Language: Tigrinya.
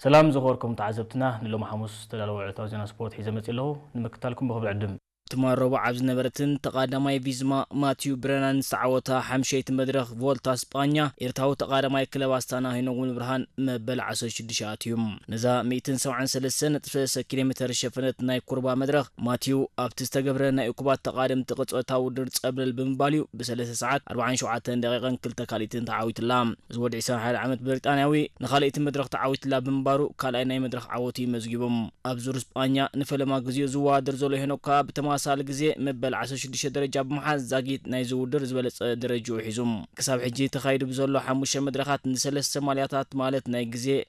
ሰላም ዝኸበርኩም ተዓዘብትና፣ ንሎሚ ሓሙስ ዝተዳለወ ዕለታዊ ዜና ስፖርት ሒዘ መጺእ ኣለኹ። ንምክታልኩም ብኽብሪ ዕድም። ትማል ረቡዕ ኣብ ዝነበረትን ተቓዳማይ ቪዝማ ማቲዩ ብረናን ዝተዓወታ ሓምሸይቲ መድረኽ ቮልታ ስጳኛ፣ ኤርትራዊ ተቓዳማይ ክለብ ኣስታና ሄኖክ ሙሉብርሃን መበል ዓሰርተ ሽዱሽተ ኣትዩ። ነዛ ሚእትን ሰብዓን ሰለስተን ነጥቢ ሰለስተ ኪሎ ሜተር ዝሸፈነት ናይ ኩርባ መድረኽ ማቲዩ ኣብቲ ዝተገብረ ናይ እኩባት ተቓደምቲ ቅጽበታዊ ውድድር ጸብለል ብምባል እዩ ብሰለስተ ሰዓት ኣርባዓን ሸውዓተን ደቂቕን ክልተ ካልኢትን ተዓዊትላ። እዚ ወዲ ዕስራን ሓደን ዓመት ብሪጣንያዊ ንኻልኣይቲ መድረኽ ተዓዊትላ ብምንባሩ ካልኣይ ናይ መድረኽ ዓወቱ እዩ መዝጊቡ። ኣብ ዙር ስጳኛ ንፈለማ ግዜኡ ዝወዳደር ዘሎ ሄኖክ ከኣ ብተመሳሳሊ ግዜ መበል ዓሰርተ ሽዱሽተ ደረጃ ብምሓዝ ዛጊት ናይዚ ውድድር ዝበለጸ ደረጃኡ ሒዙ። ክሳብ ሕጂ ተኻይዱ ብዘሎ ሓሙሽተ መድረኻት ንሰለስተ ማልያታት ማለት ናይ ግዜ፣